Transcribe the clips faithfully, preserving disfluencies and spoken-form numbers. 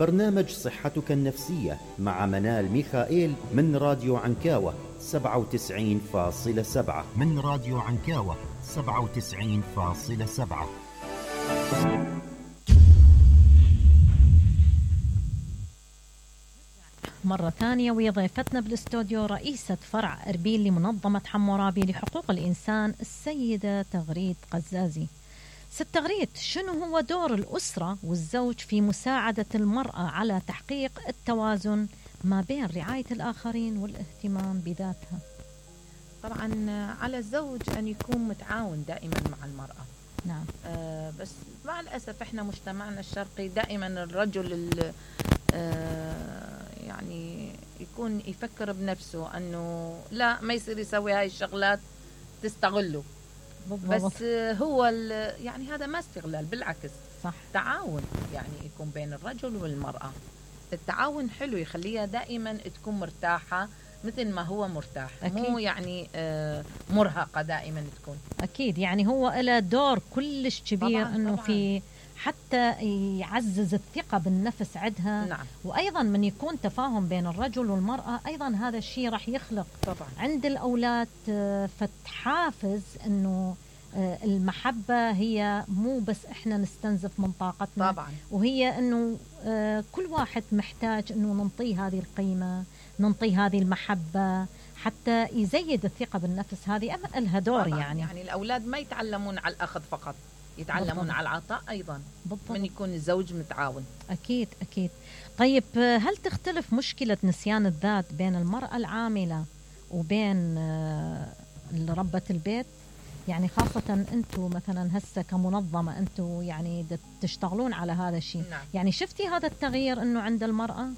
برنامج صحتك النفسية مع منال ميخائيل من راديو عنكاوة سبعة وتسعين فاصلة سبعة من راديو عنكاوة سبعة وتسعين فاصلة سبعة. مرة ثانية ويا ضيفتنا بالاستوديو رئيسة فرع أربيل لمنظمة حمورابي لحقوق الإنسان السيدة تغريد قزازي. ست تغريد، شنو هو دور الأسرة والزوج في مساعدة المرأة على تحقيق التوازن ما بين رعاية الآخرين والاهتمام بذاتها؟ طبعا على الزوج أن يكون متعاون دائما مع المرأة. نعم. آه بس مع الأسف إحنا مجتمعنا الشرقي دائما الرجل آه يعني يكون يفكر بنفسه أنه لا ما يصير يسوي هاي الشغلات تستغله. بالضبط. بس هو يعني هذا ما استغلال، بالعكس صح. تعاون يعني يكون بين الرجل والمرأة. التعاون حلو يخليها دائما تكون مرتاحة مثل ما هو مرتاح. أكيد. مو يعني آه مرهقة دائما تكون. أكيد يعني هو له دور كلش كبير أنه في حتى يعزز الثقة بالنفس عندها. نعم. وأيضا من يكون تفاهم بين الرجل والمرأة أيضا هذا الشيء راح يخلق طبعا عند الأولاد فتحافز أنه المحبة هي مو بس إحنا نستنزف من طاقتنا. طبعا. وهي أنه كل واحد محتاج أنه ننطيه هذه القيمة، ننطيه هذه المحبة حتى يزيد الثقة بالنفس. هذه لها دور. يعني يعني الأولاد ما يتعلمون على الأخذ فقط، يتعلمون بالضبط. على العطاء أيضا. بالضبط. من يكون الزوج متعاون. أكيد أكيد. طيب هل تختلف مشكلة نسيان الذات بين المرأة العاملة وبين ربة البيت؟ يعني خاصة أنتم مثلا هسه كمنظمة أنتم يعني تشتغلون على هذا الشيء. نعم. يعني شفتي هذا التغيير أنه عند المرأة؟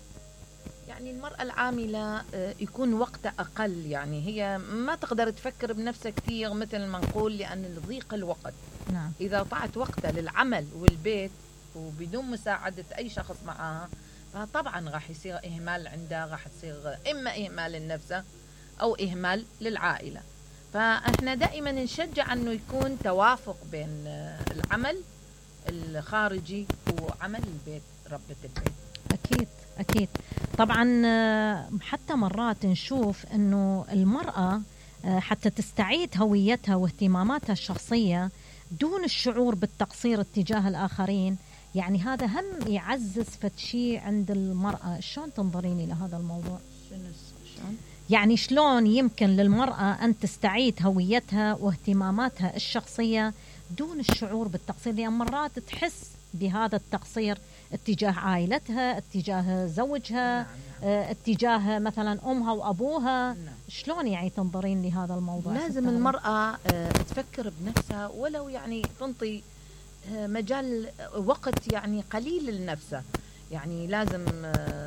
يعني المرأة العاملة يكون وقتها أقل، يعني هي ما تقدر تفكر بنفسها كثير مثل ما نقول لأن ضيق الوقت. نعم. إذا طعت وقتها للعمل والبيت وبدون مساعدة أي شخص معها فطبعا راح يصير إهمال عندها، راح يصير إما إهمال لنفسها أو إهمال للعائلة. فإحنا دائما نشجع أنه يكون توافق بين العمل الخارجي وعمل البيت، ربة البيت. أكيد أكيد. طبعا حتى مرات نشوف أنه المرأة حتى تستعيد هويتها واهتماماتها الشخصية دون الشعور بالتقصير اتجاه الآخرين، يعني هذا هم يعزز فتشي عند المرأة. شلون تنظريني لهذا الموضوع؟ شلون؟ يعني شلون يمكن للمرأة أن تستعيد هويتها واهتماماتها الشخصية دون الشعور بالتقصير؟ لأن مرات تحس بهذا التقصير اتجاه عائلتها، اتجاه زوجها. نعم. اه اتجاه مثلا أمها وأبوها. نعم. شلون يعني تنظرين لهذا الموضوع؟ لازم المرأة اه تفكر بنفسها ولو يعني تنطي اه مجال وقت يعني قليل لنفسها. يعني لازم اه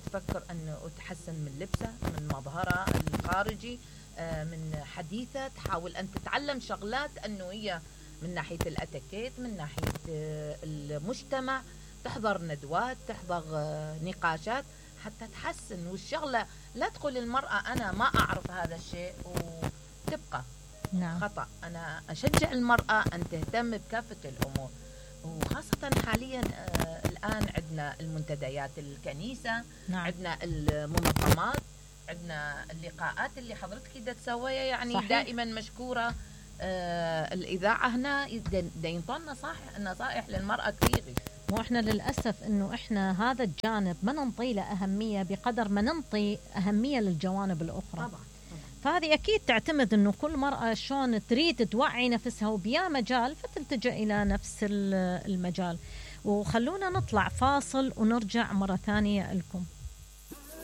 تفكر أنه تحسن من لبسها، من مظهرها الخارجي، اه من حديثها، تحاول أن تتعلم شغلات أنه هي من ناحية الأتيكيت، من ناحية اه المجتمع، تحضر ندوات، تحضر اه نقاشات حتى تحسن. والشغلة لا تقول المرأة أنا ما أعرف هذا الشيء وتبقى. نعم. خطأ. أنا أشجع المرأة أن تهتم بكافة الأمور، وخاصة حاليا آه الآن عندنا المنتديات الكنيسة. نعم. عندنا المنظمات، عندنا اللقاءات اللي حضرتك دا تسويها يعني. صحيح. دائما مشكورة آه الإذاعة هنا ينطلنا نصائح نصائح للمرأة كثير. واحنا للأسف انه احنا هذا الجانب ما ننطي له أهمية بقدر ما ننطي أهمية للجوانب الأخرى. طبعا. فهذه أكيد تعتمد أنه كل مرأة شلون تريد توعي نفسها وبيا مجال فتلتجأ إلى نفس المجال. وخلونا نطلع فاصل ونرجع مرة ثانية لكم.